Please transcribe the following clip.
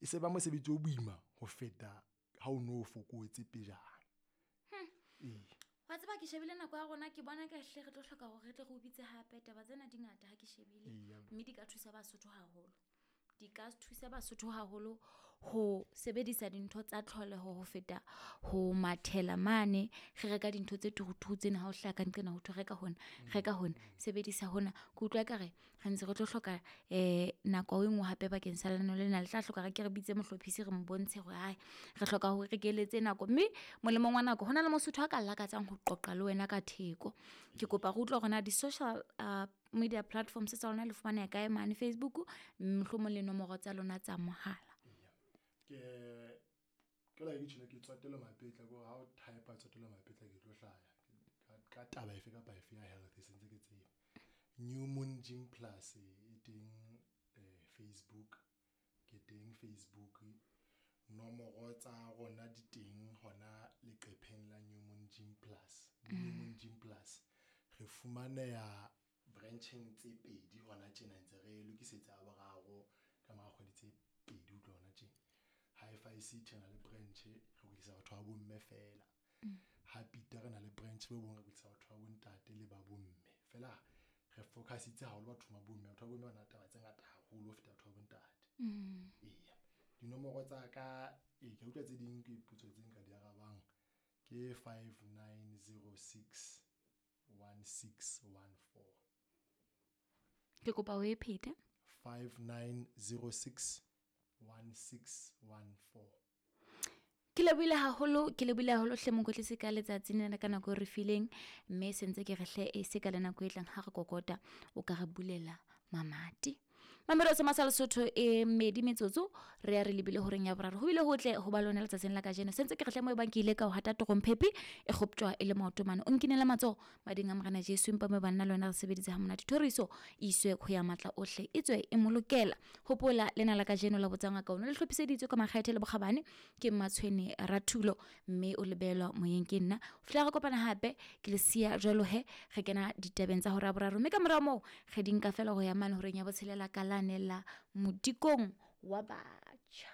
E se ba mosebetsi o boima ho feta ha o no o fokotse pejana. Ee. Wa tseba ke shebile nako ya rona ke bona ka hle re tlo hloka gore re tle re o bitse gape. Taba tsena di ngata ha ke shebile. Eya. Mme di ka thusa Basotho haholo. Di ka thusa Basotho haholo ho sebedisa dintho tsa tlholeho ho feta ho mathela mane re reka dintho tse turuturu tsena ha o hlaha ka nqena ho thwe reka hona, reka hona, sebedisa hona. Ke utlwa ekare re ntse re tlo hloka nako e nngwe hape bakeng sa lenaneo lena. Le tla hloka re ke re bitse mohlophisi re mo bontshe hore hai re hloka hore re keletse nako. Mme molemong wa nako hona le Mosotho a ka lakatsang ho qoqa le wena ka theko. Ke kopa re utlwe hore na di-social media platforms tsa lona le fumaneha kae mane Facebook, mohlomong le nomoro tsa lona tsa mohala. Ke ke la ke tjhela ke Tswatelo Mapetla ko ha o type Tswatelo Mapetla ke tlo hlaya ka taba efe kapa efe ya health e sentse ke tseba. New Moon Gym Plus e teng Facebook, ke teng Facebook. Nomoro tsa rona di teng hona leqepheng la New Moon Gym Plus. New Moon Gym Plus re fumaneha brancheng tse pedi hona tjena ntse re lokisetsa ya boraro ka mora kgwedi tse pedi ho tloha hona tjena. Hi-Fi City re na le branch re kwetlisa batho ba bomme fela. Ha Peter re na le branch bo bong re kwetlisa batho ba bontate le ba bomme. Fela re focusitse haholo bathong ba bomme. Batho ba bomme ba na le taba tse ngata haholo ho feta batho ba bontate. Eya. Dinomoro tsa ka ee ke utlwa tse ding ke potso tse nka di arabang ke 5906 1614. Ke kopa o e phete. 5906 1614. Ke lebohile haholo, ke lebohile haholo hle mokwetlisi ka letsatsi lena ka nako e re fileng, mme se ntse ke re hle e se ka le nako e tlang ha re kokota o ka re bulela mamati. Mamelo se masa Lesotho e mmedi metsotso re ya re lebile horeng ya boraro. Ho bile hotle ho ba lona letsatsing la kajeno. Se ntse ke re hle mo e bang ke ile ka o hata torompepi e kgoptjwa e le maoto mane. O nkinele matsoho mading a Morena Jesu empa mo banna le wena re sebeditse ha monate. Thoriso e iswe ho ya matla ohle e tswe e molokela. Hopola lena la kajeno la botsa ngaka ono le hlophiseditswe ka makgethe le bokgabane ke Mmatshwene Rathulo mme o lebelwa moyeng ke nna. Ho fihlela re kopana hape ke le siya jwalo he re kena ditabeng tsa hora ya boraro mme ka mora moo re di nka fela ho ya mane horeng ya botshelela ka lane la modikong wa batjha.